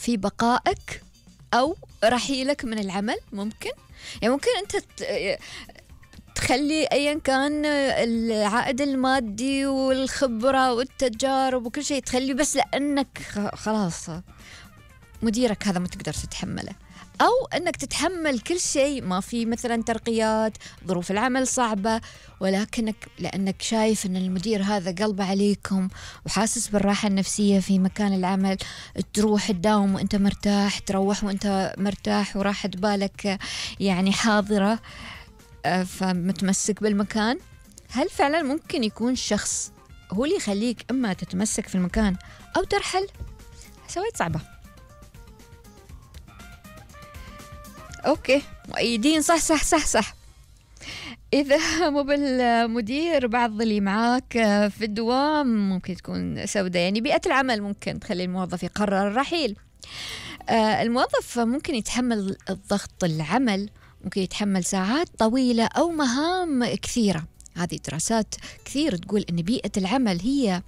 في بقائك أو رحيلك من العمل. ممكن يعني ممكن أنت تخلي أيا كان العائد المادي والخبرة والتجارب وكل شيء تخلي، بس لأنك خلاص مديرك هذا ما تقدر تتحمله، أو أنك تتحمل كل شيء، ما في مثلا ترقيات، ظروف العمل صعبة، ولكنك لأنك شايف أن المدير هذا قلبه عليكم وحاسس بالراحة النفسية في مكان العمل، تروح تداوم وأنت مرتاح، تروح وأنت مرتاح وراحة بالك يعني حاضرة، فمتمسك بالمكان. هل فعلا ممكن يكون شخص هو اللي يخليك إما تتمسك في المكان أو ترحل؟ سويت صعبة. أوكي، مؤيدين صح صح صح صح. إذا مو بالمدير، بعض اللي معاك في الدوام ممكن تكون سوداء. يعني بيئة العمل ممكن تخلي الموظف يقرر الرحيل. الموظف ممكن يتحمل الضغط العمل، ممكن يتحمل ساعات طويلة أو مهام كثيرة. هذه دراسات كثير تقول أن بيئة العمل هي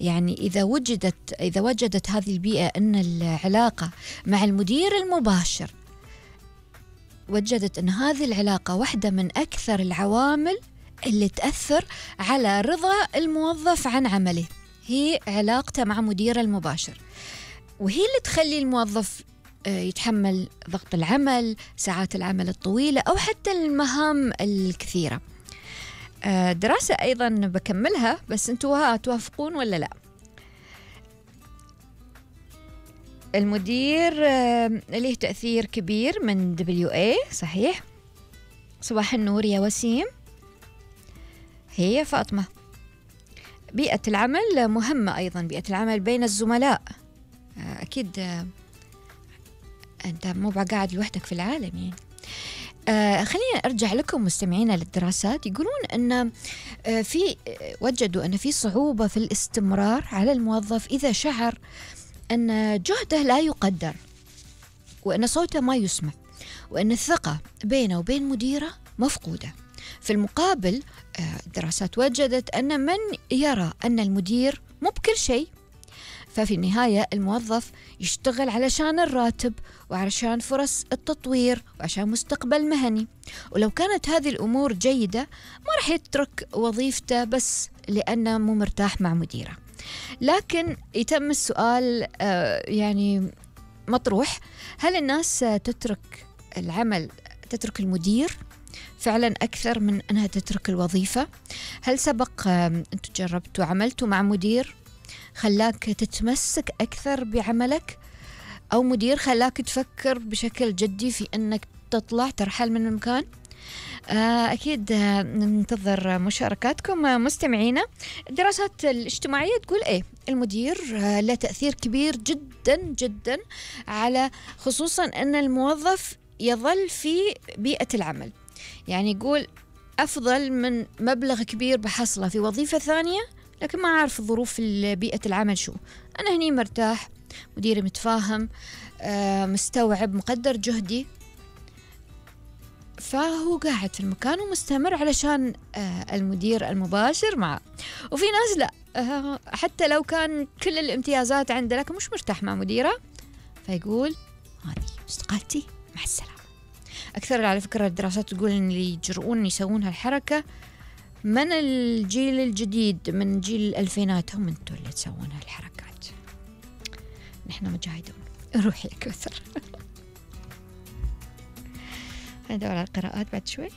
يعني إذا وجدت هذه البيئة أن العلاقة مع المدير المباشر، وجدت أن هذه العلاقة واحدة من أكثر العوامل اللي تأثر على رضا الموظف عن عمله، هي علاقته مع مديره المباشر، وهي اللي تخلي الموظف يتحمل ضغط العمل، ساعات العمل الطويلة، أو حتى المهام الكثيرة. دراسة أيضا بكملها، بس أنتوا توافقون ولا لا؟ المدير له تأثير كبير من WA، صحيح؟ صباح النور يا وسيم. هي فاطمة. بيئة العمل مهمة أيضا، بيئة العمل بين الزملاء. أكيد أنت مو قاعد لوحدك في العالم يعني. خلينا أرجع لكم مستمعينا للدراسات. يقولون أن وجدوا أن في صعوبة في الاستمرار على الموظف إذا شعر أن جهده لا يقدر، وأن صوته ما يسمع، وأن الثقة بينه وبين مديره مفقودة. في المقابل الدراسات وجدت أن من يرى أن المدير مو بكل شيء، ففي النهاية الموظف يشتغل علشان الراتب وعشان فرص التطوير وعشان مستقبل مهني، ولو كانت هذه الأمور جيدة ما راح يترك وظيفته بس لأنه مو مرتاح مع مديره. لكن يتم السؤال يعني مطروح، هل الناس تترك العمل، تترك المدير فعلا أكثر من أنها تترك الوظيفة؟ هل سبق أنتوا جربتوا عملتوا مع مدير خلاك تتمسك أكثر بعملك، أو مدير خلاك تفكر بشكل جدي في أنك ترحل من المكان؟ أكيد ننتظر مشاركاتكم مستمعينا. الدراسات الاجتماعية تقول إيه؟ المدير له تأثير كبير جدا جدا على خصوصا أن الموظف يظل في بيئة العمل. يعني يقول أفضل من مبلغ كبير بحصله في وظيفة ثانية لكن ما أعرف ظروف بيئة العمل شو. أنا هني مرتاح، مديري متفاهم، مستوعب، مقدر جهدي، فهو قاعد في المكان ومستمر علشان المدير المباشر معه. وفي ناس لا، حتى لو كان كل الامتيازات عنده لكن مش مرتاح مع مديره، فيقول هذه استقالتي مع السلامة. أكثر على فكرة الدراسات تقول إن اللي يجرؤون يسوون هالحركة من الجيل الجديد، من جيل الألفينات، هم انتوا اللي تسوون هالحركات. نحن مجاهدون. روحي يا كوثر. ندور على القراءات بعد شوي.